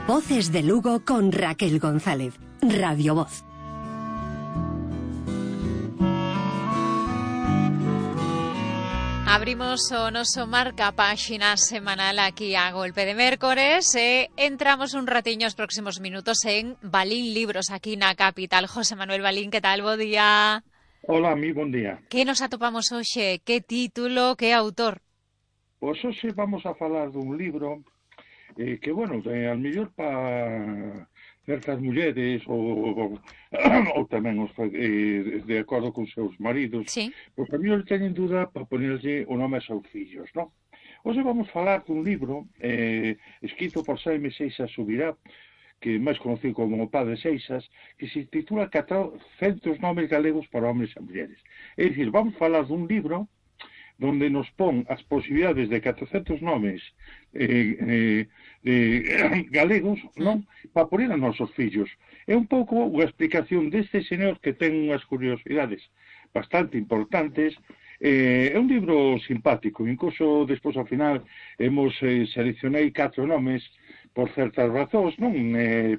Voces de Lugo con Raquel González. Radio Voz. Abrimos o noso marca páxina semanal aquí a golpe de mércores e entramos un ratiño os próximos minutos en Balín Libros, aquí na capital. José Manuel Balín, que tal? Bo día. Hola, mi bon día. Que nos atopamos hoxe? Que título, que autor? Pois hoxe vamos a falar dun libro que, bueno, al mellor para certas mulleres ou tamén os de acordo con seus maridos, sí, pois a mí non teñen duda para ponerlle o nome a seus fillos, non? Hoxe vamos falar dun libro escrito por Xaime Seixas Subirá, que é máis conocido como o Padre Seixas, que se titula 400 nomes galegos para homes e mulleres. É dicir, vamos falar dun libro donde nos pon as posibilidades de 400 nomes galegos, non? Para poner a nosos fillos. É un pouco unha explicación deste señor que ten unhas curiosidades bastante importantes. É un libro simpático, incluso despois ao final seleccionei 4 nomes por certas razóns, non?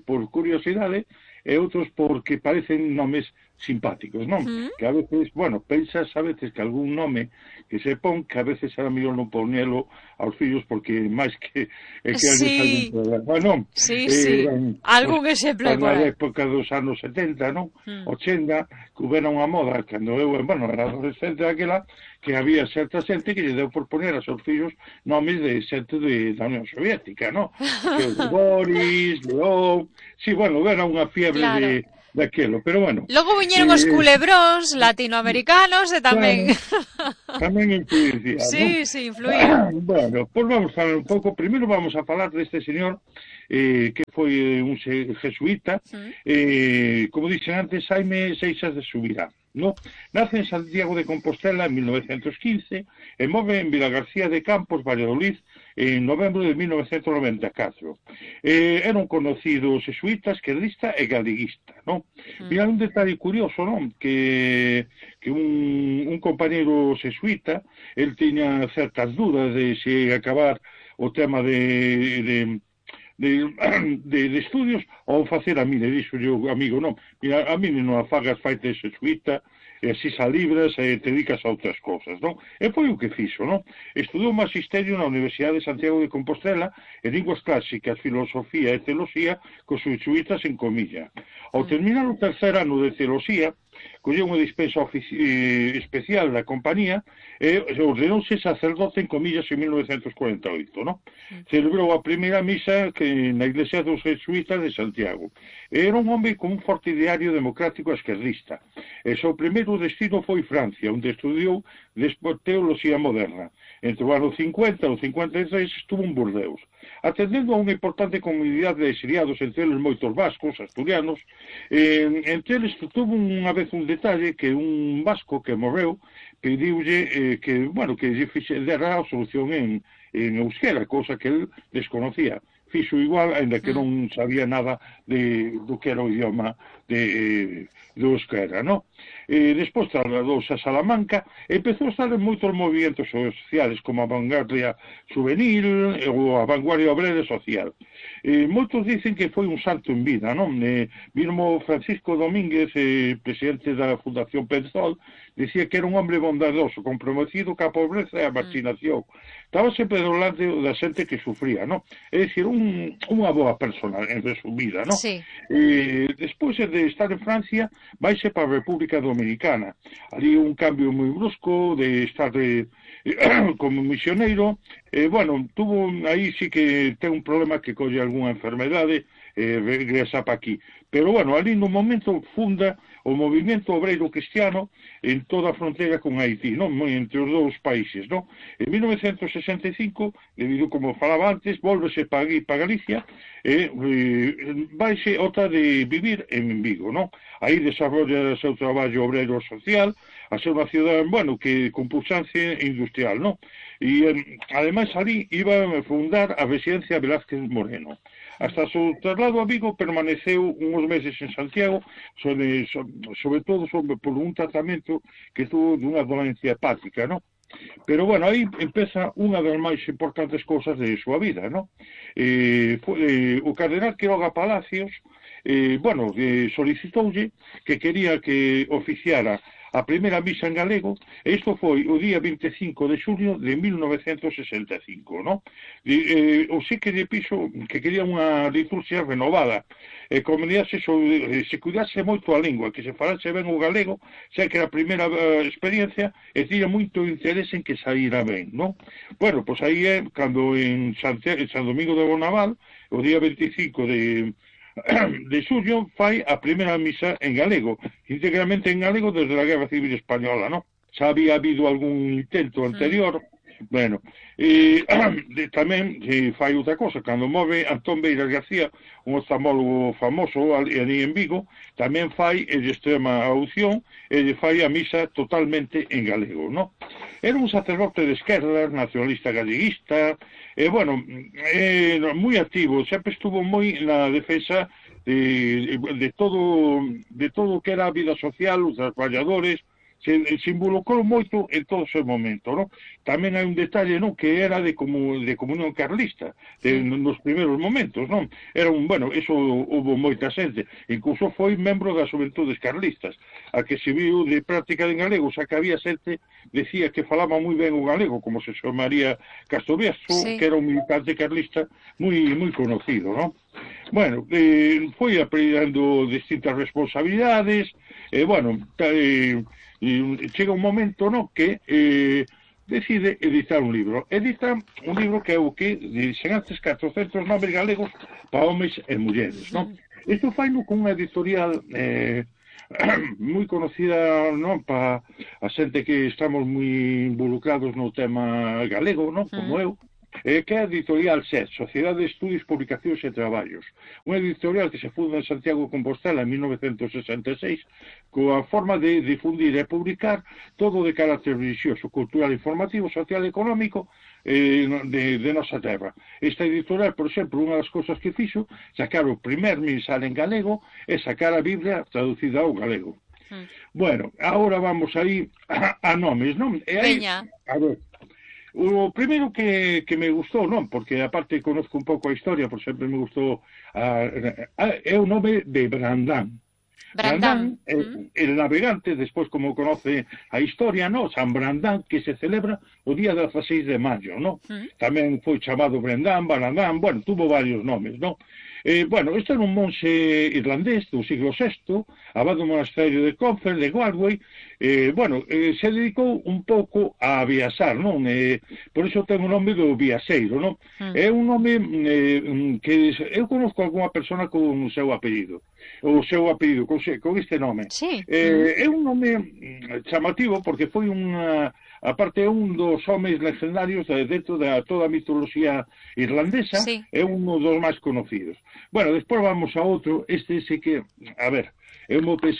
Por curiosidade, e outros porque parecen nomes simpáticos, non? Que a veces, bueno, pensas a veces que algún nome que se pon, que a veces era mellor non ponelo aos fillos porque máis que sí, alguén problema, non? Sí, sí, algún exemplo por aí. Na aí. época dos anos 70, non? 80, que houbera unha moda, cando eu, bueno, era adolescente daquela, que había certa xente que lle deu por poner a seus fillos nomes de xente da Unión Soviética, non? Que Boris, León... Sí, bueno, era unha fiebre claro. daquelo, pero bueno. Logo viñeron os culebróns latinoamericanos e tamén... Tamén influenciaron, sí, ¿no? sí, influían. Bueno, pois vamos a falar un pouco. Primeiro vamos a falar deste señor que foi un jesuíta, como dixen antes, Xaime Seixas de Subirá, ¿no? Nace en Santiago de Compostela en 1915 e morre en Vilagarcía de Campos, Valladolid, en novembro de 1994. Era un conocido jesuíta, esquerdista e galeguista, ¿no? Mira, un detalle curioso, ¿no? Que un compañero jesuíta, el tiña certas dudas de se acabar o tema de estudios ou facer a mí, le dixo yo, amigo, non, mira, a mí non a fagas, faite jesuíta, e así xa libras e te dedicas a outras cousas, non? E foi o que fixo, non? Estudou magisterio na Universidade de Santiago de Compostela e linguas clásicas, filosofía e teoloxía cos jesuítas en comilla. Ao terminar o tercer ano de teoloxía, colleu unha dispensa especial da compañía e ordenouse sacerdote en comillas en 1948, non? Celebrou a primeira misa na iglesia dos jesuítas de Santiago. Era un home con un forte ideario democrático esquerdista. E seu primeiro destino foi Francia, onde estudiou despois teoloxía moderna. Entre o ano 50 e o 53 estuvo en Burdeos. Atendendo a unha importante comunidade de exiliados, entre eles moitos vascos, asturianos, entre eles tuvo unha vez un detalle que un vasco que morreu pediulle que lle dera a solución en euskera, cousa que el desconocía. Fixo igual, ainda que non sabía nada do que era o idioma do euskera, non? Despois trasladouse a Salamanca e empezou a estar en moitos movimentos sociales como a vanguardia juvenil ou a vanguardia obrera social. Moitos dicen que foi un santo en vida, non? Mismo Francisco Domínguez, presidente da Fundación Penzol, dicía que era un hombre bondadoso, comprometido ca pobreza e a marginación. Estaba sempre do lado da xente que sufría, non? É dicir, unha boa persona, en resumida, non? Sí. Despois de estar en Francia, vaise para a República Dominicana. Ali un cambio moi brusco de estar como misioneiro. Tuvo aí sí que ten un problema que colle algunha enfermedade regresa para aquí. Pero, ali no momento funda o movimento obreiro cristiano en toda a fronteira con Haití, non? Entre os dous países, non? En 1965, debido, como falaba antes, volvese para Galicia e vaise outra de vivir en Vigo, non? Aí desarrolla o seu traballo obreiro social, a ser unha cidade, que con puxancia industrial, non? E, ademais, ali iba a fundar a residencia Velázquez Moreno. Hasta o seu traslado a Vigo permaneceu uns meses en Santiago, sobre todo por un tratamento que tuvo dunha dolencia hepática, non? Pero, bueno, aí empeza unha das máis importantes cousas de súa vida, non? O cardenal Quiroga Palacios, solicitoulle que quería que oficiara a primeira misa en galego, e isto foi o día 25 de xulio de 1965, non? O sí que lle pixo que quería unha liturgia renovada, se cuidase moito a lingua, que se falase ben o galego, xa que era a primeira experiencia, e tiña moito interés en que saíra ben, non? Bueno, pois aí é cando en San Domingo de Bonaval, o día 25 de xullo, fai a primeira misa en galego, íntegramente en galego desde a Guerra Civil Española, non? Xa había habido algún intento anterior, bueno, tamén fai outra cosa, cando move Antón Beiras García, un oftalmólogo famoso ali en Vigo, tamén fai de extrema audición, e fai a misa totalmente en galego, non? Era un sacerdote de esquerdas, nacionalista galleguista, moi activo, sempre estuvo moi na defensa de todo o que era a vida social, os traballadores, se involucrou moito en todo ese momento, non? Tamén hai un detalle, non, que era de comunión carlista, nos primeiros momentos, non? Era eso houve moita xente, incluso foi membro das Xuventudes Carlistas, a que se viu de práctica en galego, xa que había xente decía que falaba moi ben o galego, como se María Castroviaso, que era un militante carlista moi conocido, non? Bueno, foi aprendendo distintas responsabilidades, chega un momento, no, que decide editar un libro. Edita un libro que é o que dixen antes 400 nomes galegos para homes e mulleres, non? Isto faino con unha editorial moi conocida, non, para a xente que estamos moi involucrados no tema galego, non, como eu, que é a editorial SED, Sociedade de Estudios, Publicacións e Traballos, unha editorial que se funda en Santiago de Compostela en 1966, coa forma de difundir e publicar todo de carácter religioso, cultural, informativo, social e económico de nosa terra. Esta editorial, por exemplo, unha das cousas que fixo, sacar o primer mensal en galego e sacar a Biblia traducida ao galego. Bueno, agora vamos aí a nomes, non? Veña. A ver, o primeiro que me gustou, non, porque aparte conozco un pouco a historia, por sempre me gustou é o nome de Brandán. Brandán, el navegante, despois como conoce a historia, non, San Brandán, que se celebra o día 16 de maio, non? Tamén foi chamado Brandán, Balandán, tuvo varios nomes, non? Este era un monxe irlandés do siglo VI, abade do monasterio de Clonfert, de Galway, se dedicou un pouco a viaxar, non? Por iso ten o nome do viaxeiro, non? É un nome que eu conozco algunha persona con o seu apelido, con este nome. Sí. É un nome chamativo porque foi aparte é un dos homes legendarios dentro de toda a mitoloxía irlandesa, é un dos máis conocidos. Despois vamos a outro, este que, a ver, eu mo pensar